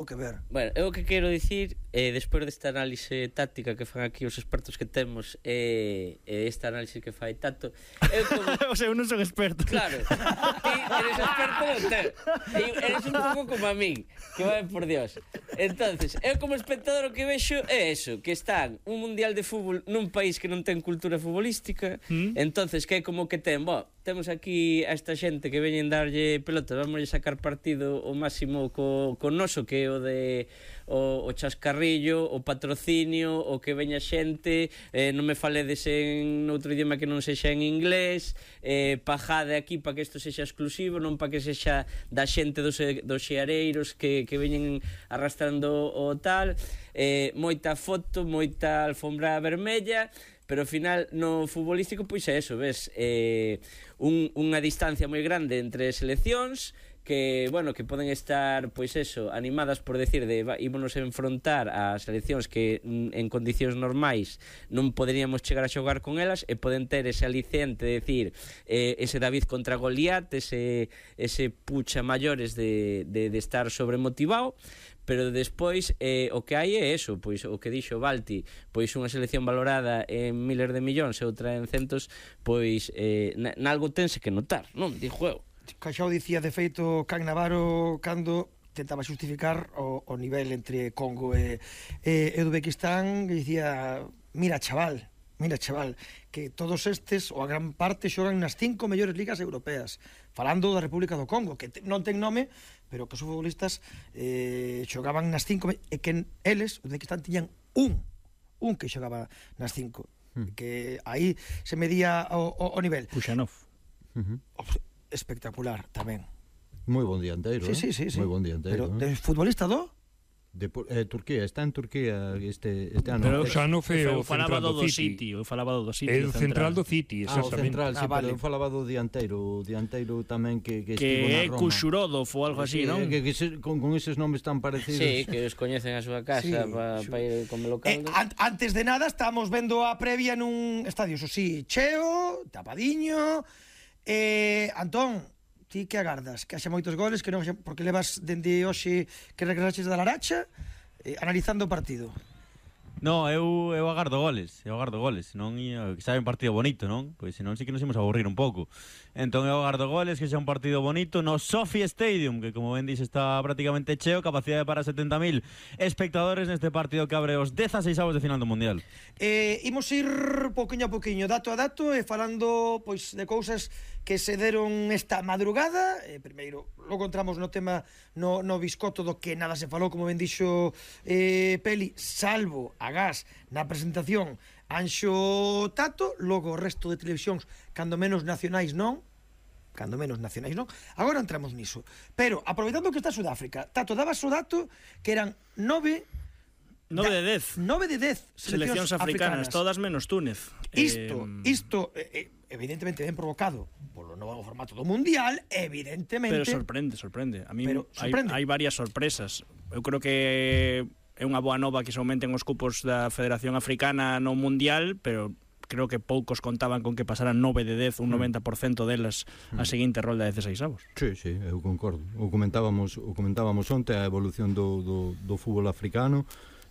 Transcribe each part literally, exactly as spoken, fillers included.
o que ver. Bueno, eu o que quero dicir, eh, despois desta análise táctica que fan aquí os expertos que temos, e eh, esta análise que fai Tato, eu como... O sea, eu non son experto. Claro, ti eres experto no ter. Eres un pouco como a min, que vai por Dios. Entonces, eu como espectador o que vexo é eso, que están un mundial de fútbol nun país que non ten cultura futbolística, mm. entonces que é como que ten, bo, temos aquí a esta xente que veñen darlle pelota, vamos a sacar partido o máximo co, co noso, que é o de o, o chascarrillo, o patrocinio, o que veña xente, eh, non me faledes en outro idioma que non sexa en inglés, eh, pajade aquí para que isto sexa exclusivo, non para que sexa da xente dos, dos xeareiros que, que veñen arrastrando o tal, eh, moita foto, moita alfombra vermella, pero ao final no futbolístico pois é eso, ves, eh, un, unha distancia moi grande entre seleccións que, bueno, que poden estar, pois eso, animadas por decir de ímonos a enfrontar a seleccións que en condicións normais non poderíamos chegar a xogar con elas e poden ter ese aliciente de decir eh, ese David contra Goliat, ese, ese pucha maiores de, de, de estar sobremotivado, pero despois eh, o que hai é eso, pois o que dixo Balti, pois unha selección valorada en miles de millóns e outra en centos, pois eh, nalgo tense que notar, non? Dixo eu. Caixao dicía, de feito, Can Navarro cando tentaba xustificar o, o nivel entre Congo e, e, e Uzbequistán, que dicía, mira chaval, mira chaval, que todos estes, ou a gran parte, xogan nas cinco mellores ligas europeas, falando da República do Congo, que te, non ten nome, pero que os futbolistas eh, xogaban nas cinco, e que eles, Uzbequistán, tiñan un, un que xogaba nas cinco, hmm. que aí se medía o, o, o nivel. Puxanov. Uh-huh. Espectacular tamén. Moi bon dianteiro, sí, sí, sí, sí. Moi bon dianteiro. Pero de futbolista do? De eh, Turquía, está en Turquía este, este ano. Pero xa non foi o central do do City. Eu falaba do City. É o central do City, ah, o central, sí, ah, vale. pero eu falaba do dianteiro, o dianteiro tamén que, que, que estivo na é Roma. Kushurov ou algo así, sí, non? Que, que se, con, con eses nomes tan parecidos. Sí, que os coñecen a súa casa, sí, para pa ir como local. Eh, an antes de nada, estamos vendo a previa nun estadio, eso sí, cheo, tapadiño. Eh, Antón, ti que agardas? Que haxa moitos goles, que non haxa, porque levas dende hoxe que regresaches da Laracha eh, analizando o partido. No, eu, eu agardo goles, eu agardo goles, non ia, que sabe un partido bonito, non? Pois senón sí que nos imos a aburrir un pouco. Entón eu agardo goles, que xa un partido bonito no Sophie Stadium, que como ben dixe está prácticamente cheo, capacidade para setenta mil espectadores neste partido que abre os dezaseisavos de final do Mundial. Eh, imos ir poquinho a poquinho, dato a dato, e falando pois de cousas que se deron esta madrugada. Eh, primeiro, logo entramos no tema no, no biscoto do que nada se falou, como ben dixo eh, Peli, salvo a gas na presentación Anxo Tato, logo o resto de televisións cando menos nacionais non cando menos nacionais non agora entramos niso, pero aproveitando que está Sudáfrica, Tato, dabas o dato que eran nove nove de dez nove de dez seleccións africanas, africanas, todas menos Túnez. Isto, eh... isto eh, evidentemente ben provocado polo novo formato do Mundial, evidentemente. Pero sorprende, sorprende. A mí pero sorprende. hai, hai varias sorpresas. Eu creo que é unha boa nova que se aumenten os cupos da Federación Africana no Mundial, pero creo que poucos contaban con que pasaran nove de dez, un noventa por cento delas a seguinte rolda de dezaseisavos. Sí, sí, eu concordo. O comentábamos, o comentábamos onte a evolución do, do, do fútbol africano.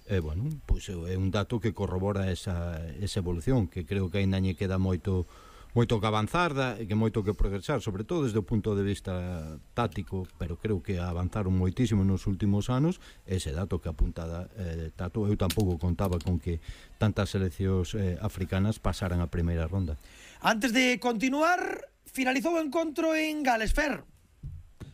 E, bueno, pois é un dato que corrobora esa, esa evolución, que creo que ainda lle queda moito moito que avanzar, da, que moito que progresar, sobre todo desde o punto de vista táctico, pero creo que avanzaron moitísimo nos últimos anos. Ese dato que apuntada eh, Tato, eu tampouco contaba con que tantas seleccións eh, africanas pasaran a primeira ronda. Antes de continuar, finalizou o encontro en Gales, Fer.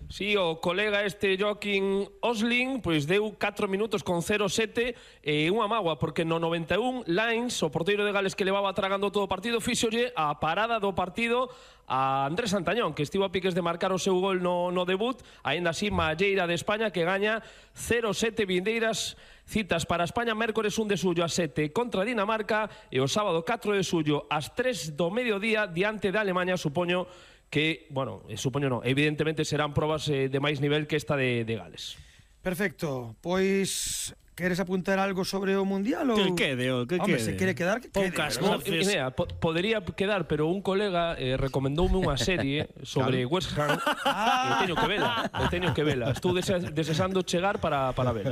Sí, o colega este Joaquín Osling pois deu catro minutos con cero sete e unha mágoa, porque no noventa e un Lines, o porteiro de Gales que levaba tragando todo o partido, fíxolle a parada do partido a Andrés Santañón, que estivo a piques de marcar o seu gol no, no debut. Aínda así, Malleira de España, que gaña cero sete. Vindeiras citas para España, mércores un de suyo a sete contra Dinamarca e o sábado catro de suyo ás tres do mediodía diante de Alemanha. Supoño que, bueno, supoño non, evidentemente serán probas eh, de máis nivel que esta de, de Gales. Perfecto, pois queres apuntar algo sobre o Mundial? Ou... Que quede, o que Hombre, quede. se quere quedar, que Poucas quede. voces. Mira, po podería quedar, pero un colega eh, recomendoume unha serie sobre claro. West Ham. Ah. E teño que vela, e teño que vela. Estou desesando chegar para, para ver.